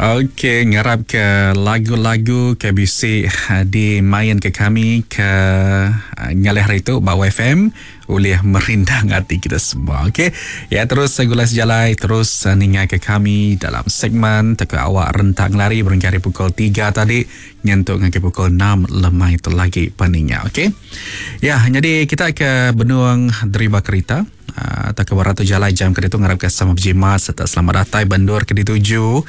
Okey, ngarap ke lagu-lagu ke bisi dimain ke kami ke ngalih hari tu ba YFM ulih merindang ati kita semua. Okey. Ya terus segulai sejalai terus ninga ke kami dalam segmen teka awak rentak ngelari berengkah ari pukul 3 tadi nyentuk ngagai pukul 6 lemai tu lagi peninga. Okey. Ya, jadi kita ke benung deriba kerita. Tauka ba ratu jalai jam ke ditu ngarapka sama bejimat sereta selamat datai ba endur ke dituju.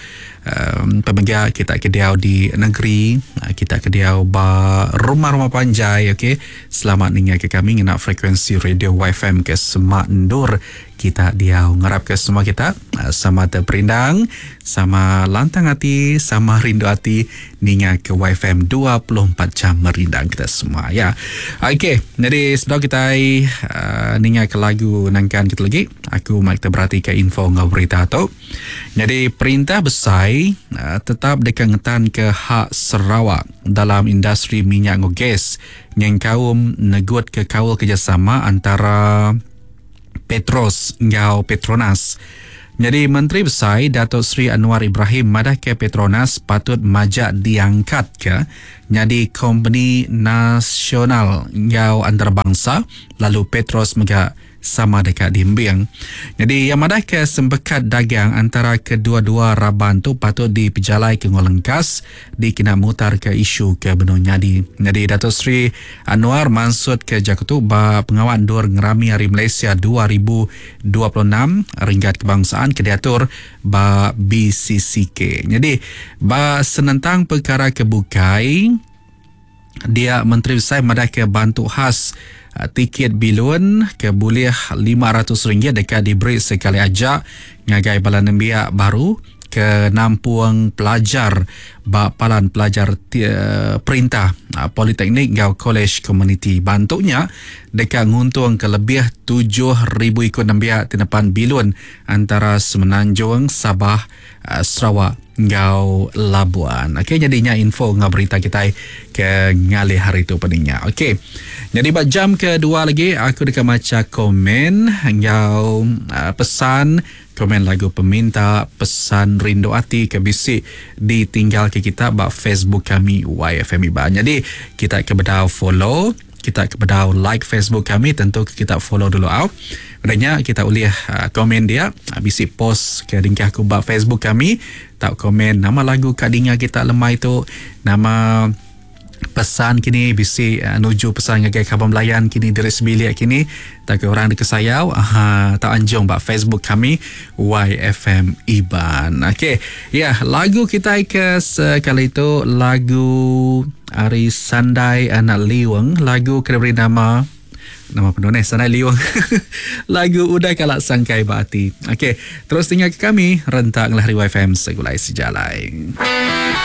Um pemega kita ke diau di negeri, kita ke diau ba rumah-rumah panjai okey. Selamat ninga ke kami ngena frekuensi radio YFM ke semak endur kita diau. Ngarapka semua kita sama teperindang, sama lantang ati, sama rindu ati Ninga ke YFM 24 jam merindang kita semua ya. Okey, jadi sebelum kita ninga ke lagu nangkan kita lagi, aku mai kita berati ke info enggau berita tu. Jadi perintah besai tetap deka ngetan ke hak Sarawak dalam industri minyak enggau gas nyengkaum negut ke kaul kerjasama antara Petros enggau Petronas. Nyadi Menteri Besai Datuk Seri Anwar Ibrahim madahka Petronas patut majak diangkatka nyadi kompeni nasional enggau antarabangsa lalu Petros mega sama deka diembing. Nyadi iya madahka sempekat dagang antara kedua-dua raban tu patut dipejalaika enggau lengkas dikena mutarka isu ke benung nyadi. Nyadi Datuk Seri Anwar mansutka jaku tu ba pengawa endur ngerami Hari Malaysia 2026 Renggat Kebangsaan ke diatur ba BCCK. Nyadi ba senentang pekara ke bukai dia Menteri Besai madahka bantu khas tikit bilun ke bulih RM500 deka diberi sekali aja ngagai bala nembiak baru ke nampung pelajar ba palan pelajar perintah, politeknik enggau kolej komuniti. Bantu nya deka nguntungka lebih 7000 iku nembiak ti nepan bilun antara Semenanjung, Sabah, Sarawak enggau Labuan. Okey nyadi nya info enggau berita kitai ke ngalih hari tu peninga. Okey. Nyadi ba jam kedua lagi aku deka macha komen enggau pesan Komen lagu peminta pesan rindu ati ke bisi ditinggalka kita ba Facebook kami YFM Iban. Nyadi kita ke bedau follow, kita ke bedau like Facebook kami tentu ke kita follow dulu au. Udah nya kita ulih uh, komen dia uh, bisi post ke dingkah aku ba Facebook kami tau komen nama lagu ka dinga kita lemai tu, nama Pesan kini bisi nuju pesan ngagai kaban belayan kini diri sebilik kini tauka orang dikesayau aha tau anjung ba Facebook kami YFM Iban. Okey, ya lagu kitai ke sekali tu lagu ari Sandai Anak Liung, lagu ke diberi nama nama penuh neh Sandai Liung. lagu Udah Kala Sangkai Ba Ati. Okey, terus tinggal ke kami rentak ngelah ari YFM Segulai Sejalai.